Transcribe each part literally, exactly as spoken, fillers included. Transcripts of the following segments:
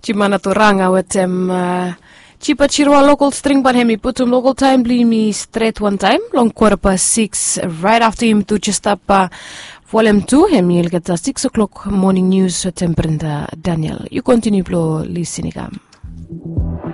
Jimana toranga wetem jipa jirua lokol string ban hem i putum lokol taem blong yumi stret wantaem long kwata pas siks. Raet afta yumi tu jistap folem tu hem i olgeta siks o'klok moning nius wetem Brenda Daniel. Yu kontiniu blong lisin i kam.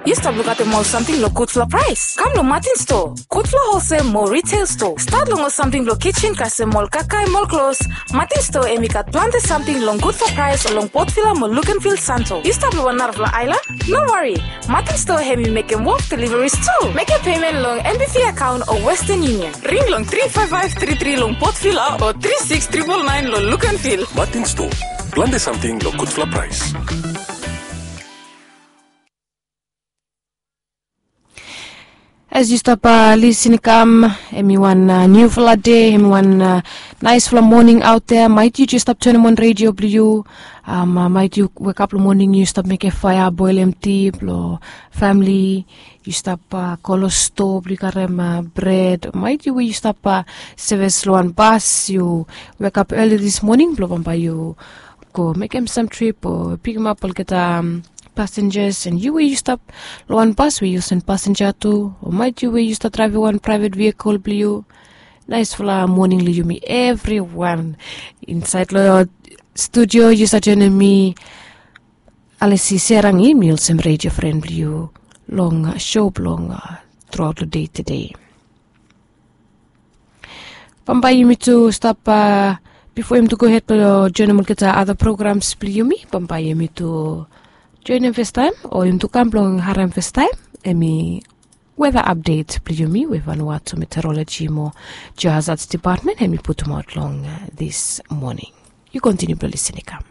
Yu stap lukaotem ol samting long gudfala praes? Kam long Martin Store, gudfala holsel mo riteil stoa. Stat long ol samting blong kijen kasem ol kakae mo ol klos. Martin Store hem i gat plante samting long gudfala praes long Port Vila mo Luganville Santo. Yu stap long wan narafala aelan? No wari, Martin Store hem i mekem wok deliveries tu. Mekem pemen long NBV akaon o Western Union. Ring long tri faef faef tri tri long Port Vila o tri siks tripol naen long Luganville. Martin Store, plante samting long gudfala praes. As yu stap lisin i kam, hem i wan niufala dei, hem i wan naesfala moning aot ya. Maet yu jes stap tonem wan redio blong yu, maet yu wekap long moning yu stap mekem faea, boelem ti blong famili, yu stap go long stoa blong yu karem bred, maet yu we yu stap sevis long wan bas, yu wekap eli dis moning blong bambae yu go mekem sam trip o pikimap olgeta pasenjas, and yu we yu stap long wan bas we yu olsem pasenja tu, o maet yu we yu stap draevem wan praevet vehikel blong yu. Naesfala moning long yumi evriwan. Insaed long studio yu stap joenem mi, Alisi Serangi, mi olsem redio fren blong yu long sho blong truaot long dei tede. Bambae yumi tu stap, bifo yumi tu gohed blong joenem olgeta ada programs blong yumi, bambae yumi tu joenem fastaem o yumi tu kam blong harem fastaem hem i weda apdet blong yumi we Vanuatu Meteoroloji mo Geohazards Depatmen hem i putumaot long dis moning. Yu kontiniu blong lisin i kam.